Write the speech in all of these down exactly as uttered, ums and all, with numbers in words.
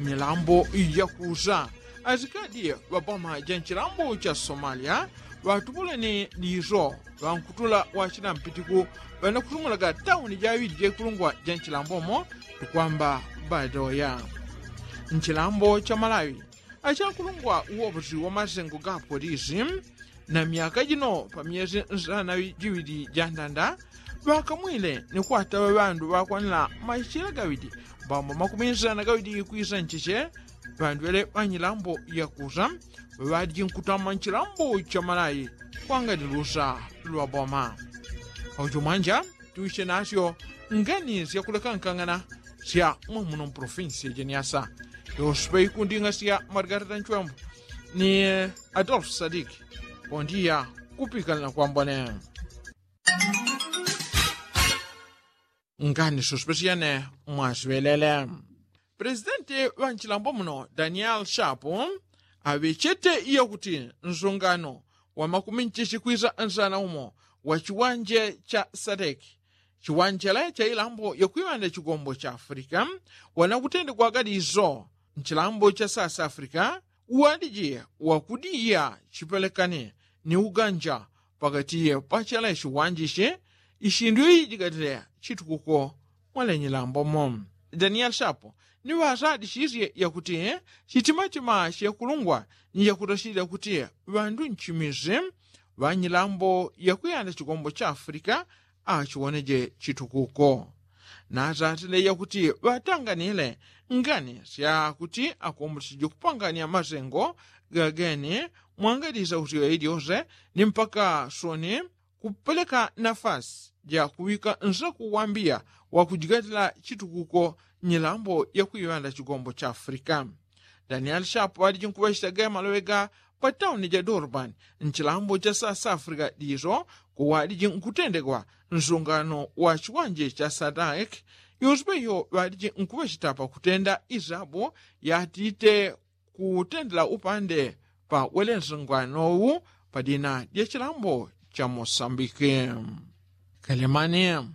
Milambo yakusa asikadi ŵaboma ja nchilambo cha somalia ŵatupuleni diso ŵankutula wachina mpitiku ŵanakutumulaga tauni jaŵili jaikulungwa ja nchilambomo tukwamba badoya. Nchilambo cha malawi achakulungwa uwoposi wa masengo ga polisi na myaka jino pa myesi nsana jiŵili ja ndanda ŵakamwile ni kwataŵa ŵandu ŵakwanila machila gaŵili mbambo makumi nsana gaŵili kwisa ncheche ŵandu ŵele ŵanyilambo yakusa ŵaŵaliji nkutama nchilambo cha malawi kwangani lusa lwa boma. Paucho mwanja tuche nasyo ngani syakulekankangana sya mwamuno mpolofinsi ya jeniasa yoswe ikunding'a sya margarita nchwembo ni adolfu sadiki. Pondiya kupikanila kwambone ngani sospesyene mwaswelele. Presidenti ŵa nchilambo muno daniel shapu aŵechete yakuti nsungano wa makumi nchichi kwisa nsana umo wa chiwanje cha sadeki chiwanjele cha ilambo yakwiŵanda chigombo cha afrika wanakutende kwagadi iso nchilambo cha south africa uwaliji wakudiya chipelekani ni uganja pakati pachele chiwanji ichi ishindu ijigatile chitukuko mwalenyi lambomo. Daniel shapo ni ŵasadishisye yakuti chitimatima chekulungwa ni chakutachilila kuti ŵandu nchimizi ŵanyilambo yakwiyanda chikombo cha afrika achiwoneje chitukuko. Natatile yakuti ŵatanganile ngani syakuti akomboleseje kupangania masengo gageni mwangalisa kuti ŵailiose ni mpaka soni kupeleka nafasi jakuŵika nsaku wambiya wakujigatila chitukuko nyilambo yakwiŵanda chigombo cha afrika. Daniel shapu ŵaliji nkuŵachita ge maloŵe ga patauni ja durban nchilambo cha south africa diso kuŵaliji nkutendegwa nsungano wa chiwanje cha sadak yonse peyo ŵaliji nkuŵachita pakutenda isabu yatite kutendela upande pa welensunganowu pa dina dya chilambo cha mosambiki. Kalemani.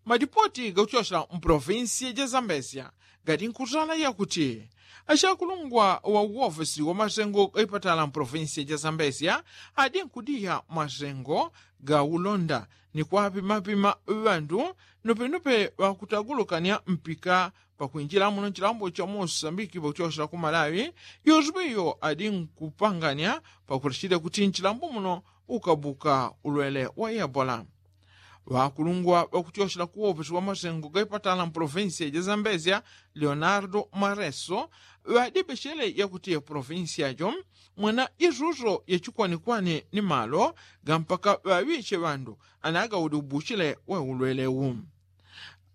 Madipoti gakuchosela mpolofinsiya ja zambezia gadi nkutala yakuti achakulungwa wa uwofesi wa masengo gaipatala mpolofinsiya ja zambezia adi nkudiya masengo ga ulonda ni kwapimapima ŵandu nopenope ŵakutagulukania mpika pakwinjila muno nchilambo cha mosambiki pakuchosela ku malawi. Yonse peyo adi nkupangania pakulachilila kuti nchilambo muno ukabuka ulwele wa ebola. Ŵakulungwa ŵakuchochela kuwoposi wa masengo gaipatala mpolofinsiya ja zambezia leonardo mareso ŵadibechele yakuti polofinsiya jo mwana isuso yachikwanikwani ni malo ga mpaka ŵaŵiche ŵandu anagaudi ubuchile wa ulwelewu.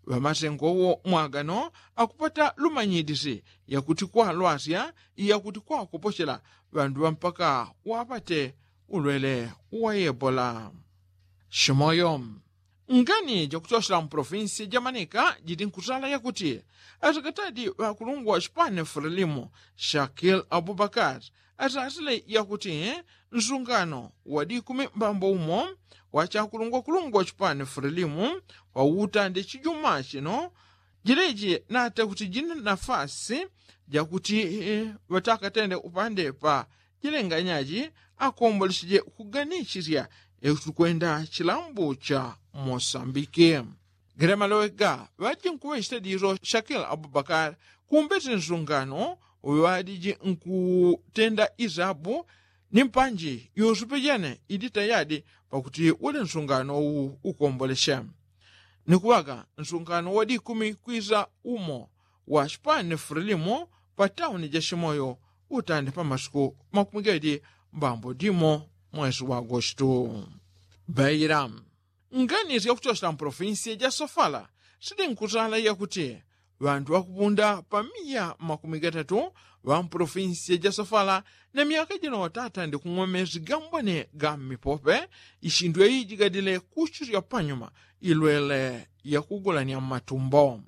Ŵamasengowo mwagano akupata lumanyidisi yakuti kwalwasya iyakuti kwakopochela ŵandu ŵampaka wapate ulwele wa ebola. Shimoyo. Ngani jakuchochela mpolofinsi jamanika jili nkutala yakuti atakatadi ŵakulungwa chipani frelimo shakil abubakar atatile yakuti nsungano wadikumi mbambo umo wachakulungwakulungwa chipani frelimo wauta ndi chijuma chino jileji nata kuti jina nafasi jakuti ŵatakatende upande pa jilenganyaji akomboleseje kuganichisya ekuti kwenda chilambo cha mosambiki. Gele maloŵe ga ŵaji nkuŵechita diso shakil abubakar kumbete nsungano ŵadiji nkutenda isabu ni mpanji yonse pejene idi tayadi pakuti ule nsungano uwu ukomboleshe. Ni kuŵaga nsungano wadikumi kwisa umo wa chipani frelimo pa tauni ja shimoyo utande pa masiku makumi gaidi mbambo dimo mwesi wa agosto. Baila. Ngani syakuchochela mpolofinsiya ja sofala sili nkutala yakuti ŵandu ŵakupunda pa miya makumi gatatu ŵa mpolofinsiya ja sofala na myaka jino ŵatatande kung'wa mesi gambone ga mmipope ishindu yaijigadile kuchisya panyuma ilwele yakugulanya mmatumbo.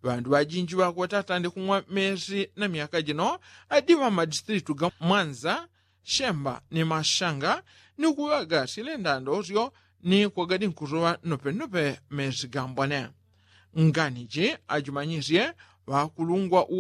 Ŵandu ŵajinji ŵakwe ŵatatande kung'wa mesi na myaka jino adi ŵa mmadistritu ga mwanza shemba ni mashanga ni kuŵaga silenda ndosyo ni kwagadi nkusoŵa nopenope mesi gambone. Nganiji ajimanyisye ŵakulungwa.